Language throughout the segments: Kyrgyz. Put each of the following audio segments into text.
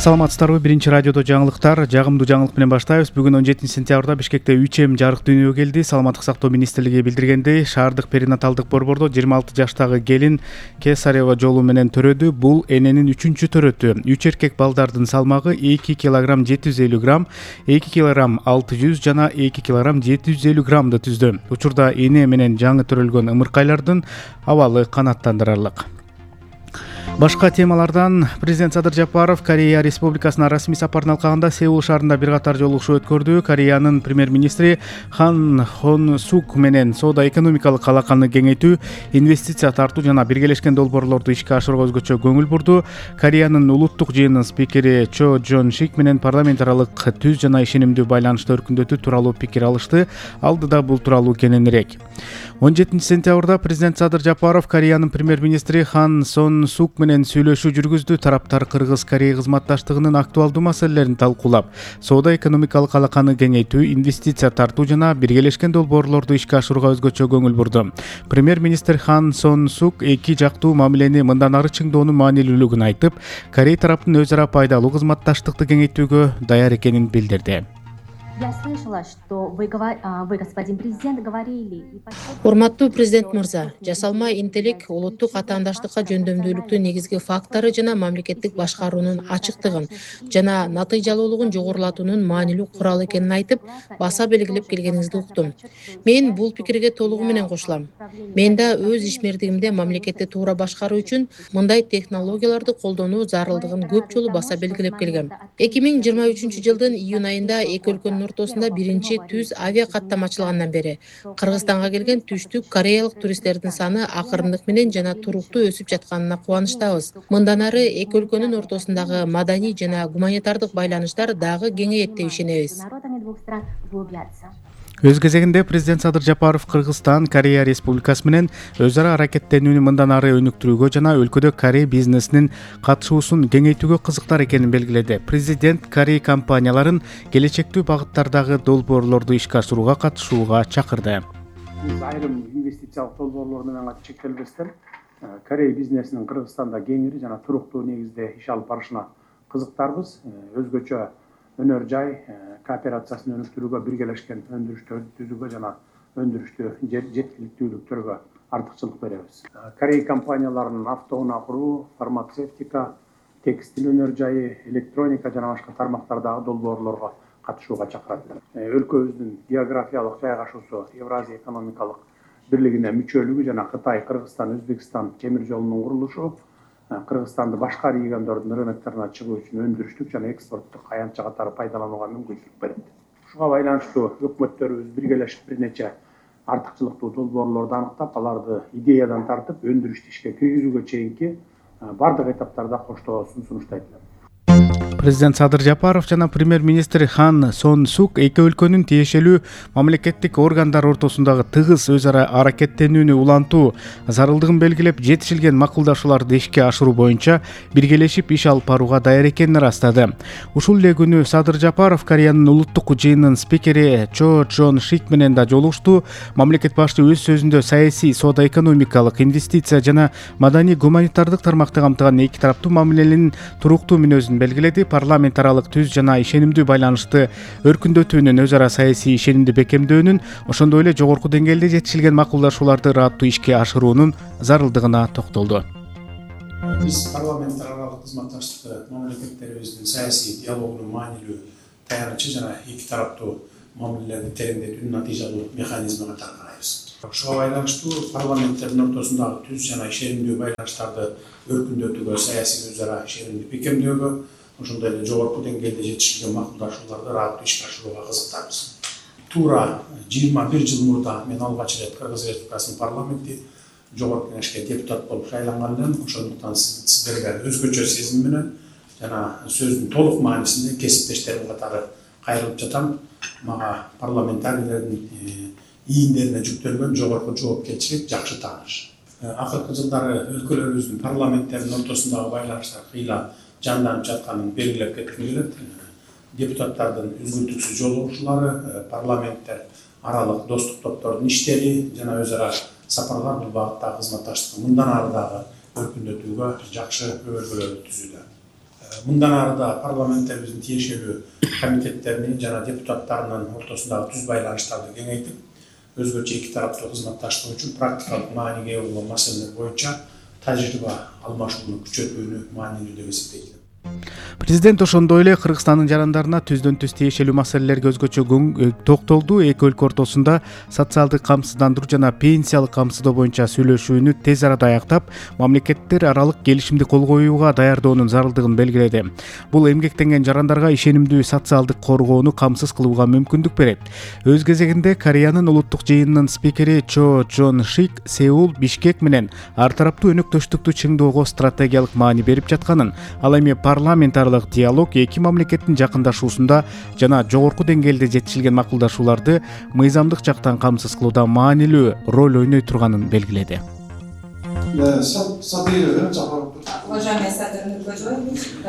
Саламатсыздарбы? Биринчи радиодо жаңылыктар. Жагымдуу жаңылык менен баштайбыз. Бүгүн 17 сентябрда Бишкекте 3М жарык дүйнөгө келди. Саламаттык сактоо министрлиги билдиргендей, шаардык перинаталдык борбордо 26 жаштагы келин кесарева жолу менен төрөдү. Бул эненин 3-чү төрөтү. 3 эркек балдардын салмагы 2 кг 750 грамм, 2 кг 600 жана 2 кг 750 граммды түздү. Учурда эне менен жаңы төрөлгөн ымыркайлардын абалы канааттандырарлык. Башка темалардан президент Садыр Жапаров Корея Республикасына расмий сапарын алкагында Сеул шаарында бир катар жолугушуу өткөрдү. Кореянын премьер-министри Хан Хон Сук менен соода-экономикалык алаканы кеңейтүү, инвестиция тартуу жана биргелешкен долбоорлорду ишке ашырууга өзгөчө көңүл бурду. Кореянын улуттук жыйынынын спикери Чо Жон Шик менен парламент аралык түз жана ишенимдүү байланышты өркүндөтүү тууралуу пикир алышты. Алдыда бул тууралуу кененирээк. 17 сентябрда президент Садыр Жапаров Кореянын премьер-министри Хан Сон Сук менен сүйлөшүү жүргүздү. Тараптар Кыргыз-Корея кызматташтыгынын актуалдуу маселелерин талкуулап, соода-экономикалык алаканы кеңейтүү, инвестиция тартуу жана биргелешкен долбоорлорду ишке ашырууга өзгөчө көңүл бурду. Премьер-министр Хан Сон Сук эки жактуу мамилени мындан ары чыңдоонун маанилүүлүгүн айтып, Корея тараптын өз ара пайдалуу кызматташтыкты кеңейтүүгө даяр экенин билдирди. Я слышала, что вы, господин президент, говорили... Урматтуу президент мырза, жасалма интеллект улуттук атаандаштыкка жөндөмдүүлүктүн негизги фактору жана мамлекеттик башкаруунун ачыктыгын жана натыйжалуулугун жогорулатуунун маанилүү куралы экенин айтып, баса белгилеп келгениңизди уктум. Мен бул пикирге толугу менен кошулам. Мен да өз ишмердигимде мамлекетти туура башкаруу үчүн мындай технологияларды колдонуу зарылдыгын көп жолу баса белгилеп келгем. 2023 жылдын июнь айында эки өлкөнүн ортосунда биринчи түз авиа каттам ачылгандан бери Кыргызстанга келген түштүк кореялык туристтердин саны акырындык менен жана туруктуу өсүп жатканына кубанычтабыз. Мындан ары эки өлкөнүн ортосундагы маданий жана гуманитардык байланыштар дагы кеңейет деп ишенебиз. Өз кезегинде президент Садыр Жапаров Кыргызстан, Корея Республикасы менен өз ара аракеттенүүнү мындан ары өнүктүрүүгө жана өлкөдө Корея бизнесинин катышуусун кеңейтүүгө кызыктар экенин белгиледи. Президент Корея компанияларын келечектүү багыттардагы долбоорлорду ишке ашырууга катышууга чакырды. Биз айрым инвестициялык долбоорлор менен чектелбестен Корея бизнесинин Кыргызстанда кеңири жана туруктуу негизде иш алып барышына кызыктарбыз. Өзгөчө өнөр жай кооперациясын өнүктүрүүгө, биргелешкен өндүрүштөрдү түзүүгө жана өндүрүштү жеткиликтүүлүктөргө артыкчылык беребиз. Корея компанияларынын автоунаа куруу, фармацевтика, текстиль өнөр жайы, электроника жана башка тармактардагы долбоорлорго катышууга чакырат. Өлкөбүздүн географиялык жайгашуусу, Евразия экономикалык бирлигине мүчөлүгү жана Кытай, Кыргызстан, Өзбекстан темир жолунун курулушу Кыргызстанды башка региондордун рынокторуна чыгуу үчүн өндүрүштүк жана экспорттук аянтча катары пайдаланууга мүмкүнчүлүк берет. Ушуга байланыштуу өкмөттөрүбүз биргелешип бир нече артыкчылыктуу долбоорлорду аныктап, аларды идеядан тартып өндүрүштү ишке киргизүүгө чейинки бардык этаптарда коштоосун сунуштайт. Президент Садыр Жапаров жана премьер-министр Хан Сон Сук эки өлкөнүн тиешелүү мамлекеттик органдар ортосундагы тыгыз өз ара аракеттенүүнү улантуу зарылдыгын белгилеп, жетишилген макулдашууларды ишке ашыруу боюнча биргелешип иш алып барууга даяр экенин ырастады. Ушул эле күнү Садыр Жапаров Кореянын улуттук жыйынынын спикери Чо Жон Шик менен да жолугушту. Мамлекет башчы өз сөзүндө саясий, соода-экономикалык, инвестиция жана маданий гуманитардык тармакты камтыган эки тараптуу мамиленин туруктуу мүнөзүн белгиледи. Парламент аралык түз жана ишенимдүү байланышты өркүндөтүүнүн, өз ара саясий ишенимди бекемдөөнүн, ошондой эле жогорку деңгээлде жетишилген макулдашууларды ыраттуу ишке ашыруунун зарылдыгына токтолду. Биз парламент аралык кызматташтыкты мамлекеттерибиздин саясий диалогунун маанилүү таянычы жана эки тараптуу мамилелерди тереңдетүүнүн натыйжалуу механизми катары карайбыз. Ушуга байланыштуу парламенттердин ортосундагы түз жана ишенимдүү байланыштарды өркүндөтүүгө, саясий өз ара ишенимди бекемдөөгө, ошондой эле жогорку деңгээлде жетишилген макулдашууларды ыраттуу ишке ашырууга кызыктарбыз. Туура 21 жыл мурда мен алгач ирет Кыргыз Республикасынын парламенти жогорку кеңешке депутат болуп шайланган элем. Ошондуктан сиздерге өзгөчө сезим менен жана сөздүн толук маанисинде кесиптештерим катары кайрылып жатам. Мага парламентарийлердин ийиндерине жүктөлгөн жогорку жоопкерчилик жакшы тааныш. Акыркы жылдары өлкөлөрүбүздүн парламенттеринин ортосундагы байланыштар кыйла жанданып жатканын белгилеп кетким келет. Депутаттардын үзгүлтүксүз жолугушуулары, парламенттер аралык достук топтордун иштери жана өз ара сапарлар бул багыттагы кызматташтыкты мындан ары дагы өркүндөтүүгө жакшы өбөлгөлөрдү түзүүдө. Мындан ары да парламенттерибиздин тиешелүү комитеттеринин жана депутаттарынын ортосундагы түз байланыштарды кеңейтип, өзгөчө эки тараптуу кызматташтык үчүн практикалык мааниге ээ болгон маселелер боюнча тажрыйба алмашууну күчөтүүнү маанилүү деп эсептейт. Президент ошондой эле Кыргызстандын жарандарына түздөн түз тиешелүү маселелерге өзгөчө токтолду. Эки өлкө ортосунда социалдык камсыздандыруу жана пенсиялык камсыздоо боюнча сүйлөшүүнү тез арада аяктап, мамлекеттер аралык келишимди кол коюуга даярдоонун зарылдыгын белгиледи. Бул эмгектенген жарандарга ишенимдүү социалдык коргоону камсыз кылууга мүмкүндүк берет. Өз кезегинде Кореянын улуттук жыйынынын спикери Чо Джон Шик Сеул, Бишкек менен ар тараптуу өнөктөштүктү чыңдоого стратегиялык маани берип жатканын, ал эми парламентарлык диалог эки мамлекеттин жакындашуусунда жана жогорку деңгээлде жетишилген макулдашууларды мыйзамдык жактан камсыз кылууда маанилүү роль ойной турганын белгиледи.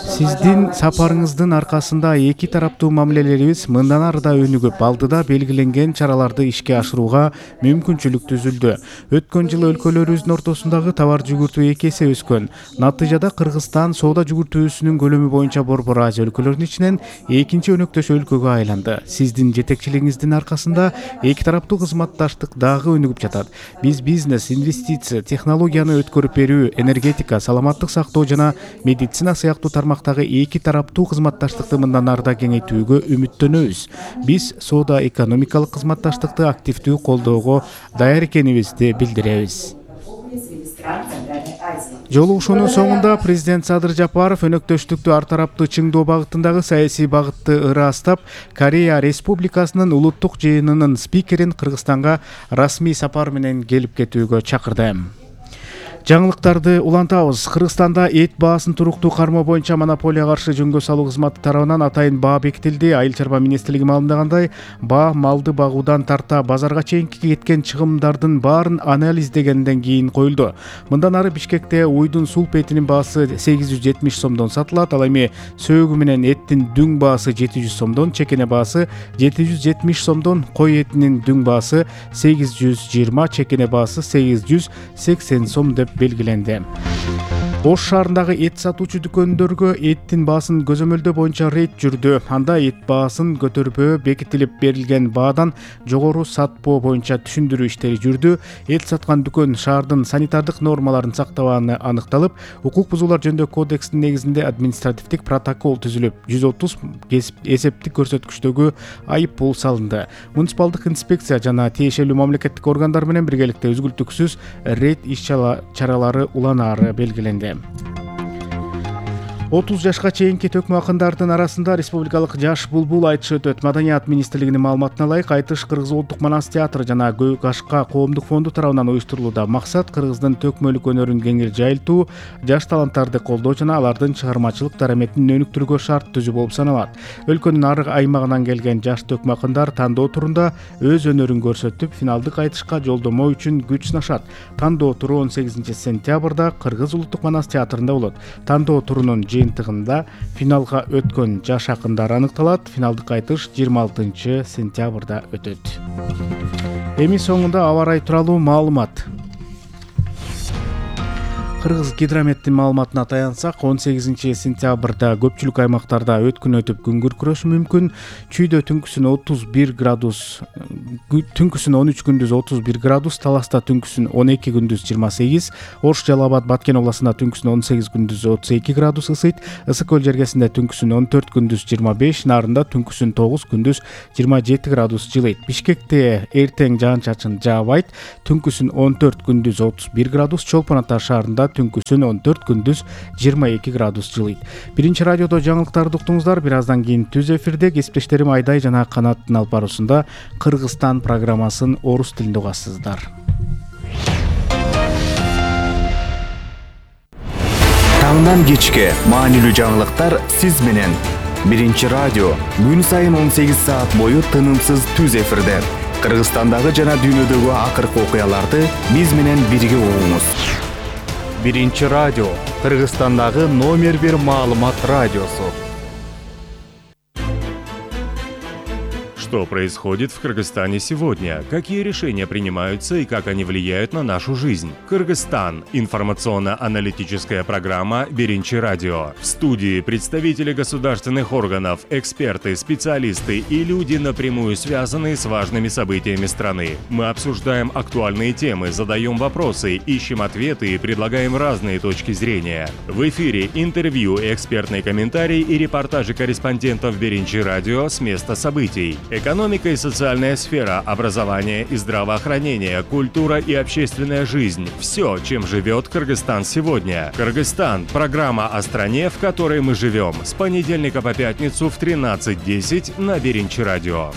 Сиздин сапарыңыздын аркасында эки тараптуу мамилелерибиз мындан ары да өнүгүп, алдыда белгиленген чараларды ишке ашырууга мүмкүнчүлүк түзүлдү. Өткөн жылы өлкөлөрүбүздүн ортосундагы товар жүгүртүү 2 эсе өскөн. Натыйжада Кыргызстан соода жүгүртүүсүнүн көлөмү боюнча Борбор Азия өлкөлөрүнүн ичинен экинчи өнөктөш өлкөгө айланды. Сиздин жетекчилигиңиздин аркасында эки тараптуу кызматташтык дагы өнүгүп жатат. Биз бизнес, инвестиция, технологияны өткөрүп берүү, энергетика, саламаттык сактоо жана медицина сыяктуу тармактагы эки тараптуу кызматташтыкты мындан ары да кеңейтүүгө үмүттөнөбүз. Биз соода экономикалык кызматташтыкты активдүү колдоого даяр экенибизди билдиребиз. Жолугушуунун соңунда президент Садыр Жапаров өнөктөштүктү ар тараптуу чыңдоо багытындагы саясий багытты ырастап, Корея Республикасынын улуттук жыйынынын спикерин Кыргызстанга расмий сапар менен келип кетүүгө чакырды. Жаңылыктарды улантабыз. Кыргызстанда эт баасын туруктуу кармоо боюнча монополияга каршы жөнгө салуу кызматы тарабынан атайын баа бекитилди. Айыл чарба министрлиги маалымдагандай, баа малды багуудан тарта базарга чейинки кеткен чыгымдардын баарын анализдегенден кийин коюлду. Мындан ары Бишкекте уйдун сулп этинин баасы 870 сомдон сатылат, ал эми сөөгү менен эттин дүң баасы 700 сомдон, чекене баасы 770 сомдон, кой этинин дүң баасы 820, чекене баасы 880 сом деп белгиленди. Ош шаарындагы эт сатуучу дүкөндөргө эттин баасын көзөмөлдөө боюнча рейд жүрдү. Анда эт баасын көтөрбөө бекитилип берилген баадан жогору сатпоо боюнча түшүндүрүү иштери жүрдү. Эт саткан дүкөн шаардын санитардык нормаларын сактабаганы аныкталып, укук бузуулар жөнүндө кодекстин негизинде административдик протокол түзүлүп, 130 эсептик көрсөткүчтөгү айып пул салынды. Муниципалдык инспекция жана тиешелүү мамлекеттик органдар менен биргеликте үзгүлтүксүз рейд иш-чаралары уланаары белгиленди. 30 жашка чейинки төкмө акындардын арасында республикалык жаш булбул айтышы өтөт. Маданият министрлигинин маалыматына ылайык, айтыш Кыргыз улуттук манас театры жана Көк Ашка коомдук фонду тарабынан уюштурулууда. Максат Кыргыздын төкмөлүк өнөрүн кеңири жайылтуу, жаш таланттарды колдоо жана алардын чыгармачылык дараметин өнүктүрүүгө шарт түзүү болуп саналат. Өлкөнүн ар аймагынан келген жаш төкмө акындар тандоо турунда өз өнөрүн көрсөтүп, финалдык айтышка жолдомо үчүн күч сынашат. Тандоо туру 18 сентябрда Кыргыз улуттук манас театрында болот. Тандоо турунун жыйынтыгында финалга өткөн жаш акындар аныкталат. Финалдык айтыш 26 сентябрда өтөт. Эми соңунда аба ырайы тууралуу маалымат. Кыргыз гидрометтин маалыматына таянсак, 18 сентябрда көпчүлүк аймактарда өткүн өтүп күн күркүрөшү мүмкүн. Чүйдө түнкүсүн 31 градус, түнкүсүн 13 күндүз 31 градус, Таласта түнкүсүн 12 күндүз 28, Ош, Жалал Абад, Баткен областында түнкүсүн 18 күндүз 32 градус ысыйт, Ысык көл жергесинде түнкүсүн 14 күндүз 25, Нарында түнкүсүн 9 күндүз 27 градус жылыйт. Бишкекте эртең жаан-чачын жаабайт, түнкүсүн 14 күндүз 31 градус, Чолпон Ата шаарында түнкүсүн 14 күндүз 22 градус жылыйт. Биринчи радиодо жаңылыктарды уктуңуздар. Бир аздан кийин түз эфирде кесиптештерим Айдай жана Канаттын алып баруусунда Кыргызстан программасын орус тилинде угасыздар. Таңдан кечке маанилүү жаңылыктар сиз менен. Биринчи радио күн сайын 18 саат бою тынымсыз түз эфирде. Кыргызстандагы жана дүйнөдөгү акыркы окуяларды биз менен бирге угуңуз. Биринчи радио Кыргызстандагы номер 1 маалымат радиосу. Что происходит в Кыргызстане сегодня? Какие решения принимаются и как они влияют на нашу жизнь? Кыргызстан. Информационно-аналитическая программа «Биринчи радио». В студии представители государственных органов, эксперты, специалисты и люди, напрямую связанные с важными событиями страны. Мы обсуждаем актуальные темы, задаем вопросы, ищем ответы и предлагаем разные точки зрения. В эфире интервью, экспертные комментарии и репортажи корреспондентов «Биринчи радио» с места событий. Экономика и социальная сфера, образование и здравоохранение, культура и общественная жизнь – все, чем живет Кыргызстан сегодня. Кыргызстан – программа о стране, в которой мы живем. С понедельника по пятницу в 13:10 на Биринчи радио.